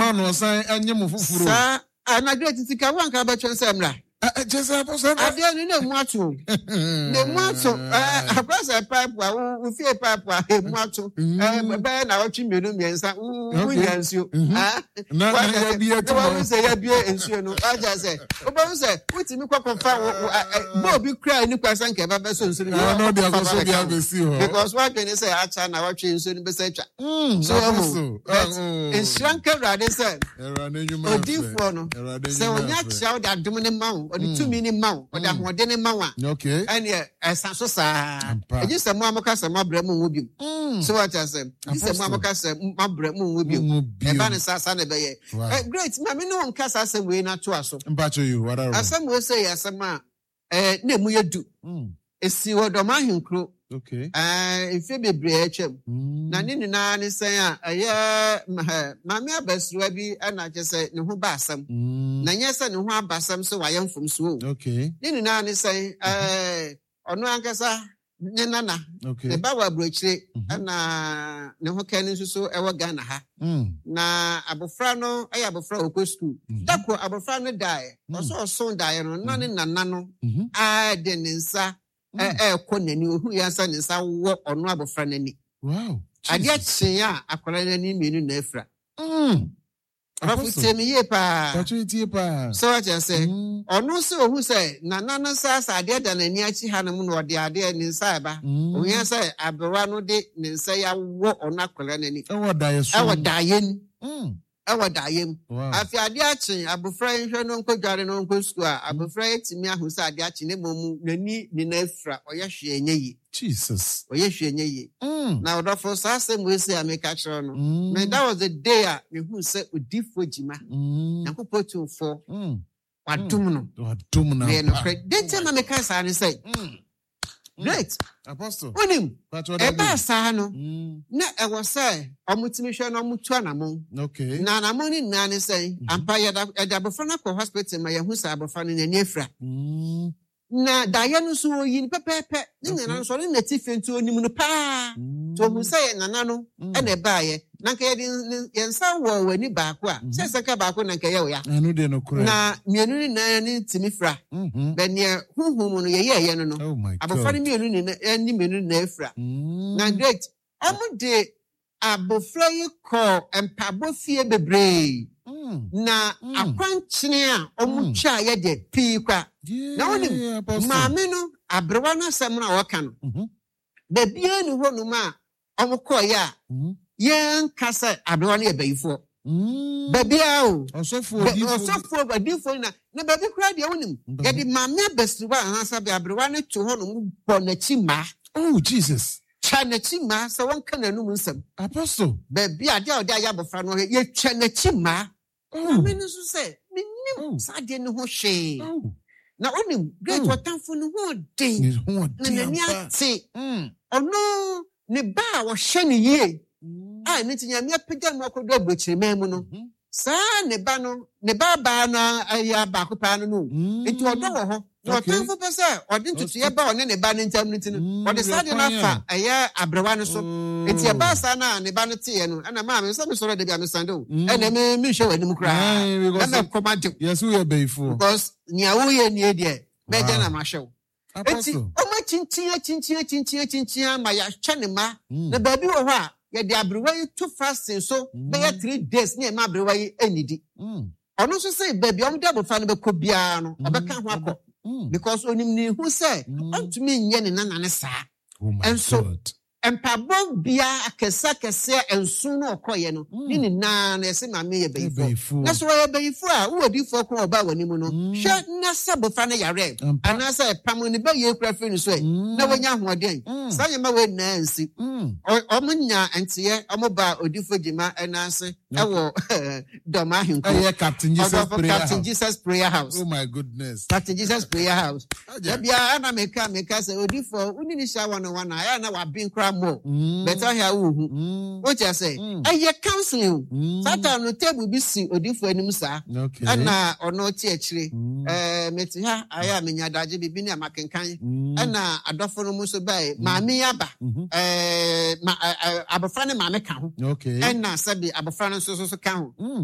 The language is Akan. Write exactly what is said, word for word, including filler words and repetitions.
mma no ɔsan ɛnye mo foforɔ. Saa anadwo titi ka wanka bɛtwɛn sɛ mmra. Kyɛ sɛ Apostle. Adeɛ no na emu ato o, na emu ato. ɛɛ akora sɛ pipe a wo wo fie pipe a emu ato ɛɛ bɛyɛ na ɔtwe mmienu mmiɛnsa wo wo nya nsuo. Na na yɛabie na wɔn sɛ yɛabie nsuo no, wagya sɛ wobɛhu sɛ wotumi kɔ kɔfa wo wo ɛ bɔɔl bi kura ni kwa sɛ nka ɛba bɛsɔ nsuo no. Na ɔde akɔsɔ bi abɛsi hɔ. Because wadwene sɛ akya na watwe nsuo no bɛsɛ atwa so ɛho. But nhyira nka Awurade sɛ odiifoɔ no sɛ onya kyerɛ wo de adom ne ma wo, ɔde tumi ne ma wo, ɔde ahoɔden ne ma wo a, ɛneɛ ɛsa so saa. Ɛgye sɛ mo a moka sɛ moabrɛ mo nwo biom so, wate asɛm? Gye sɛ mo a moka sɛ moabrɛ mo nwo biom. Ɛba ne saa saa na ɛbɛyɛ. Great, ma me ne wo nka saa asɛm wei no atoa so. Asɛm wei sɛ yɛ asɛm a ɛɛ na emu yɛ du. Esi wɔ Dɔm Ahenkuro mfe bebree atwam. Na ne nyinaa ne sɛn a ɛyɛ maame abasiriwa bi ɛna kyerɛ sɛ ne ho ba asɛm, na nyɛ sɛ ne ho aba asɛm sɛ wayɛ mfomsoɔ o. Ne nyinaa ne sɛn, ɛɛ ɔno ankasa ne nana ne ba wɔ aburokyire, ɛna ne ho kɛn nso so ɛwɔ Ghana ha. Na abofra no ɛyɛ abofra a ɔkɔ sukuu. Dako abofra no daeɛ, ɔsɔ ɔso daeɛ no na ne nana no a de ne nsa ɛɛkɔ n'ani, ohu yɛn sɛ ne nsa wɔ ɔno abofra n'ani. Adeɛ kyee a, akwadaa n'ani mmienu na afira. Ɔfo, tie mi yie paa. Sɛ wakyɛ sɛ ɔno sɛ ohu sɛ nana no nsa sɛ adeɛ da n'ani akyi hanom na ɔde adeɛ ne nsa ɛba, ohia sɛ aberewa no de ne nsa yi awɔ ɔno akwadaa n'ani. Ɛwɔ daeɛ so. Ɛwɔ daeɛ mu, ɛwɔ daeɛ mu. Afei adeɛ akye, abofra yi hwɛ no nkɔ dware no nkɔ sukuu a, abofra yi tumi ahu sɛ adeɛ akye ne mmom n'ani nyinaa afira, ɔyɛ hwee nyɛ yie. Jesus. Ɔyɛ hwee nyɛ yie. Na ɔdɔfo, saa asɛm wei sɛ a meka kyerɛ no me, that was the day a mehu sɛ odiifoɔ Gyima, Nyankopɔn tumfoɔ wadom no. Wadom no. Ɛyɛ nokorɛ. De nti ma meka saa ne sɛ, great, Apostle. Wonim ɛbaa saa no na ɛwɔ sɛ ɔmotumi hwɛ na ɔmotu anammɔn. Okay. Na anammɔn no nyinaa ne sɛ ampa yɛda yɛde abɔfra no akɔ hospital ma yɛhu sɛ abɔfra no n'ani afira. Na daeɛ no nso oyi no pɛpɛɛpɛ. Ne nana nso ɔne n'ati fie nti onim no paa, nti ohun sɛ yɛ nana no ɛna ɛbaayɛ. Na nka yɛde ne- yɛn nsa wɔ w'ani baako a, sɛ sɛ nka baako na nka ɛyɛ wo ya. Ɛno deɛ nokorɛ. Na mmienu no nyinaa ne ntumi fira. Mhm. Bɛ neɛ huhum no yɛyɛɛyɛ no no Oh my abɔfra no God. mmienu nyinaa ɛne mmienu nyinaa afira. Mm. Na great, ɔmo de abɔfra yi kɔ mpaabɔ fie bebree. Mm. Na Mm. akwankyene a ɔmo Mm. twa yɛ deɛ pii kwa. Na wonim, Yeah, Apostle. maame no, aberewa no asɛm no a wɔka no, Mhm. baabiara ni hɔnom a ɔmo kɔɔyɛ a Mhm. yɛnka sɛ aberewa no yɛ bayifoɔ. Mm. Baabiara o. Ɔsɔfoɔ, Bɛ- odiyifoɔ. Ɔsɔfoɔ, adiifoɔ nyina. Na baabi koraa deɛ, wonim, Mhm. yɛde maame abasiriwa anaasɛ aberewa no to hɔnom bɔ n'akyi mmaa. Oh Jesus. Twa n'akyi mmaa sɛ wɔnka n'anum nsɛm. Apostle. Baabi a adeɛ a ɔde ayɛ abɔfra no, yɛtwa n'akyi mmaa. Oh. Maame no nso sɛ menim Oh. saa adeɛ no ho hwee. Oh. Na wonim, great, Oh. ɔtamfo no ho den. Ne ho na ɔden n'ani ampa. ate. Mm. Ɔno ne ba a wɔhyɛ no yie a ne nti Nyame apagya no akɔdu aburokyiriman mu no, Mhm. saa ne ba no, ne ba baa no ayɛ baako paa no no o. Mm. Nti ɔdɔ wɔ hɔ na Okay. ɔtamfo pɛ sɛ ɔde ntotoeɛ ba ɔne ne ba no ntam no nti no, Mm, ɔde saa de no kwan a- afa ɛyɛ aberewa no so. Oh. Nti ɛbaa saa no a ne ba no teeɛ no, ɛna maame sɛ mesɔrɔ da bi a mesande o, Mm. ɛna me menhwɛ w'anim koraa Aye, because- na mɛkɔm agye wo. Yes, woyɛ bayifoɔ. Because nea woyɛ nie deɛ, mɛgya Wow. na mahwɛ wo. Eti Apostle. ɔmo akyinkyin akyinkyin akyinkyin akyinkyin ama yɛahyɛ ne ma. Mm. Na baabi wɔ hɔ a yɛde aberewa yi to fasting so bɛyɛ three days ne ɛma aberewa yi anidi. Mm. Ɔno nso sɛ baabi a ɔmo de abɔfra no bɛkɔ biara no, ɔbɛka ho akɔ Mm. because onim ne ho sɛ Mm. ɔntumi nyɛ ne nana ne saa. Oh my Ɛnso, God. Mpaabɔ bia akɛse akɛseɛ nson no ɔkɔyɛ no, Mm. ne nyinaa no yɛsɛ maame yɛ bayifoɔ. Bayifoɔ. Na sɛ wɔyɛ bayifoɔ a, wowɔ diifoɔ ko a ɔbaa w'anim no, Mm. hwɛ na sɛ abɔfra no yare Ampa. anaasɛ pam ne bɛyɛ kura firi no so ɛ Mm. na wanya ahoɔden. Mm. Saa nneɛma wei nyinaa nsi. Mm. Ɔ- ɔmo nya nteɛ, ɔmo ba odiifo Gyima ɛna ase ɛwɔ Dɔm Ahenkuro. Ɛyɛ Captain Jesus Ɔdɔfo, Prayer Captain House. Jesus Prayer House. Oh my goodness. Captain Jesus Prayer House. Agya. Dabia ɛna meka meka sɛ odiifo wone ne hyia one on one a, ɛyɛ na waben koraa mmɔ Mm. bɛtɛ ahɛ a wohu. Mm. Wokyɛ sɛ Mm. ɛyɛ counseling o. Mm. Saa time no, table bi si odiifo anim saa, Okay. ɛna ɔno te akyire. Mm. ɛɛ mete ha ayɛ a menya adagye biribi ne a makenkan, Mm. ɛna adɔfo no mu nso bae, maame yi aba. Mhm. ɛɛ ma ɛ ɛ abɔfra ne maame ka ho. Okay. Ɛna sɛbi abɔfra no nso so so ka ho. Mm.